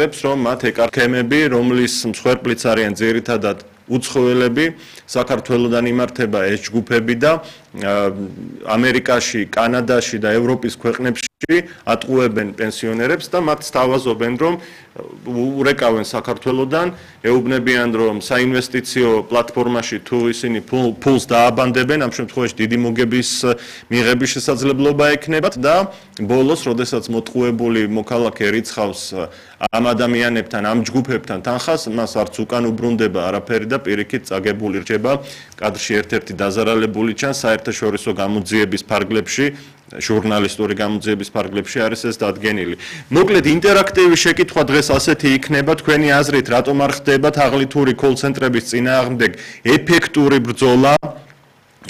პენსიონერებს, რომ მათ ეკარქემები, რომლის მსხვერპლიც არიან ძირითადად უცხოელები, საქართველოდან იმართება ეს ჯგუფები და ამერიკაში, კანადაში და ევროპის ქვეყნებში ატყუებენ პენსიონერებს და მათ სთავაზობენ, რომ ურეკავენ საქართველოდან, ეუბნებიან, რომ საინვესტიციო პლატფორმაში თუ ისინი ფულს დააბანდებენ, ამ შემთხვევაში დიდი მოგების მიღების შესაძლებლობა ექნებათ და ბოლოს, როდესაც მოტყუებული მოქალაქე რიცხავს ამ ადამიანებთან, ამ ჯგუფებთან თანხას, მას არც უკან უბრუნდება არაფერი და პირიქით წაგებული რჩება კადრში ერთ-ერთი დაზარალებული ჩანს საერთაშორისო გამოძიების ფარგლებში, ჟურნალისტური გამოძიების ფარგლებში არის ეს დადგენილი. მოკლედ ინტერაქტივი შეკითხვა დღეს ასეთი იქნება, თქვენი აზრით, რატომ არ ხდება თაღლითური კოლ-ცენტრების წინააღმდეგ ეფექტური ბრძოლა?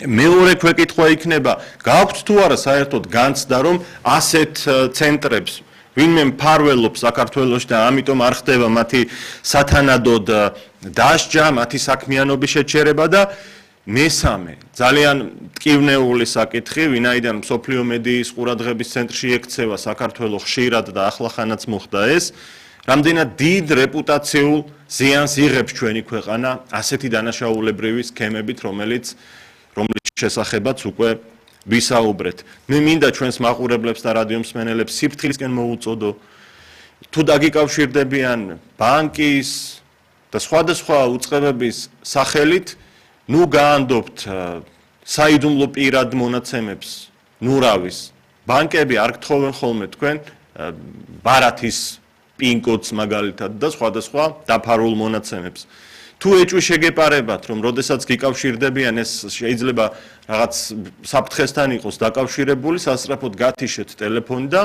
მეორე ქვეკითხვა იქნება, გაქვთ თუ არა საერთოდ განცდა, რომ ასეთ ცენტრებს ვინმე მფარველობს საქართველოში და ამიტომ არ ხდება მათი სათანადოდ დასჯა, მათი საქმიანობის შეჩერება და მესამე, ძალიან მტკივნეული საკითხი, ვინაიდან მსოფლიო მედიის ყურადღების ცენტრში ექცევა საქართველოს ხშირად და ახლახანაც მოხდა ეს, რამდენად დიდ რეპუტაციულ ზიანს იღებს ჩვენი ქვეყანა ასეთი დანაშაულებრივი სქემებით, რომლის შესახებაც უკვე ვისაუბრეთ. მე მინდა ჩვენს მაყურებლებს და რადიო მსმენელებს სიფრთხილისკენ მოუწოდო, თუ დაგიკავშირდებიან ბანკის და სხვადასხვა უწყებების სახელით, ნუ გაანდობთ საიდუმლო პირად მონაცემებს, ნურავის. ბანკები არ გთხოვენ ხოლმე თქვენ ბარათის პინ-კოდს მაგალითად და სხვადასხვა დაფარულ მონაცემებს. თუ ეჭვი შეგეპარებათ, რომ როდესაც გიკავშირდებიან ეს შეიძლება რაღაც საფრთხესთან იყოს დაკავშირებული, სასწრაფოდ გათიშეთ ტელეფონი და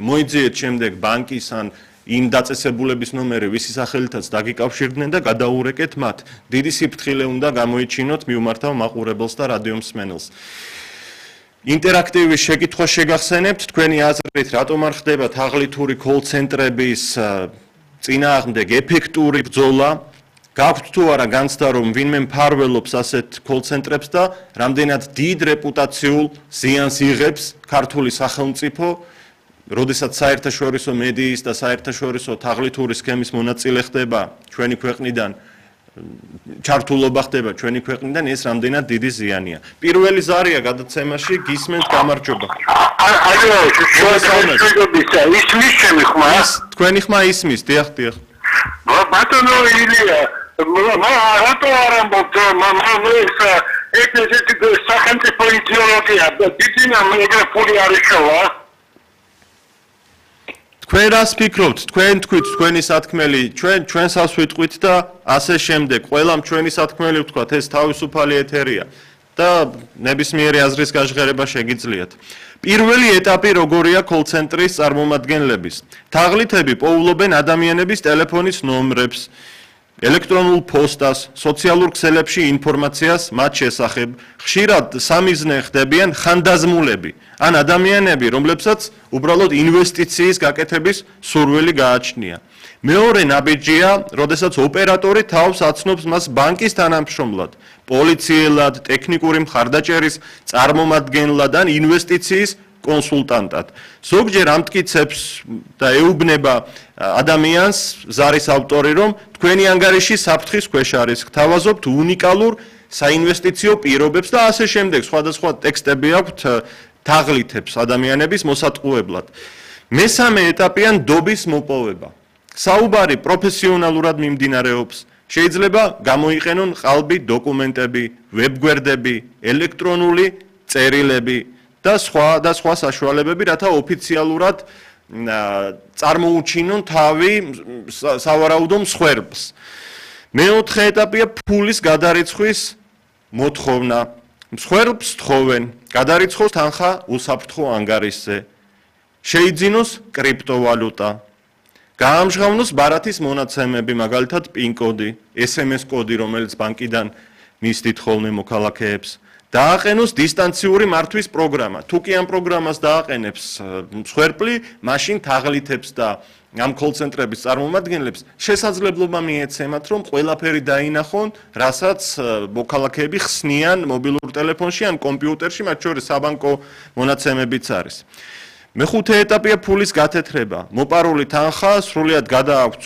მოიძიეთ შემდეგ ბანკის ან იმ დაწესებულების ნომერი, ვისი სახელითაც დაგიკავშირდნენ და გადაურეკეთ მათ. დიდი სიფრთხილე უნდა გამოიჩინოთ, მიუმართავ მაყურებელს და რადიო მსმენელს. ინტერაქტივი შეკითხვა შეგახსენებთ, თქვენი აზრით, რატომ არ ხდება თაღლითური კოლ-ცენტრების წინააღმდეგ ეფექტური ბრძოლა? გაქვთ თუ არა განცდა, რომ ვინმე მფარველობს ასეთ კოლ-ცენტრებს და რამდენად დიდ რეპუტაციულ ზიანს იღებს ქართული სახელმწიფო, როდესაც საერთაშორისო მედიის და საერთაშორისო თაღლითური სქემის მონაწილე ხდება ჩვენი ქვეყნიდან, ჩართულობა ხდება ჩვენი ქვეყნიდან, ეს რამდენად დიდი ზიანია. პირველი ზარია გადაცემაში, გისმენთ, გამარჯობა. ისმის ჩემი ხმა? თქვენი ხმა ისმის, დიახ. ბატონო ილია, რატო არ ამბობთ, ეს სახელმწიფო იდეოლოგია, დიდინა ეგრე ფული არ იშოვა? თქვენ რას ფიქრობთ? თქვენ თქვით, თქვენი სათქმელი, ჩვენსაც ვიტყვით და ასე შემდეგ. ყველამ ჩვენი სათქმელი ვთქვათ, ეს თავისუფალი ეთერია და ნებისმიერი აზრის გაჟღერება შეგიძლიათ. პირველი ეტაპი როგორია კოლ-ცენტრის წარმომადგენლების? თაღლითები პოულობენ ადამიანების ტელეფონის ნომრებს, ელექტრონულ პოსტას, სოციალურ ქსელებში ინფორმაციას მათ შესახებ. ხშირად სამიზნე ხდებიან ხანდაზმულები, ან ადამიანები, რომლებსაც უბრალოდ ინვესტიციის გაკეთების სურვილი გააჩნია. მეორე ნაბიჯია, როდესაც ოპერატორი თავს აცნობს მას ბანკის თანამშრომლად, პოლიციელად, ტექნიკური მხარდაჭერის წარმომადგენლად ან ინვესტიციის კონსულტანტად. ზოგჯერ ამტკიცებს და ეუბნება ადამიანს, ზარის ავტორი, რომ თქვენი ანგარიში საფრთხის ქვეშ არის, გთავაზობთ უნიკალურ საინვესტიციო პირობებს და ასე შემდეგ. სხვადასხვა ტექსტები აქვთ თაღლითებს ადამიანების მოსატყუებლად. მესამე ეტაპია ნდობის მოპოვება. საუბარი პროფესიონალურად მიმდინარეობს. შეიძლება გამოიყენონ ყალბი დოკუმენტები, ვებგვერდები, ელექტრონული წერილები და სხვა საშუალებები, რათა ოფიციალურად წარმოუჩინონ თავი სავარაუდო მსხვერპლს. მეოთხე ეტაპია ფულის გადარიცხვის მოთხოვნა. მსხვერპლს თხოვენ, გადარიცხოს თანხა უსაფრთხო ანგარიშზე. შეიძინოს კრიპტოვალუტა. გაამჟღავნოს ბარათის მონაცემები, მაგალითად პინ-კოდი, SMS კოდი, რომელიც ბანკიდან მისდით ხოლმე მოქალაქეებს. დააყენოს დისტანციური მართვის პროგრამა. თუ კი ამ პროგრამას დააყენებს მსხვერპლი, მაშინ თაღლითებს და ამ კოლ-ცენტრების წარმომადგენლებს შესაძლებლობა მიეცემათ, რომ ყველაფერი დაინახონ, რასაც მოქალაქეები ხსნიან მობილურ ტელეფონში ან კომპიუტერში, მათ შორის საბანკო მონაცემებიც არის. მეხუთე ეტაპია ფულის გათეთრება. მოპარული თანხა სრულიად გადააქვთ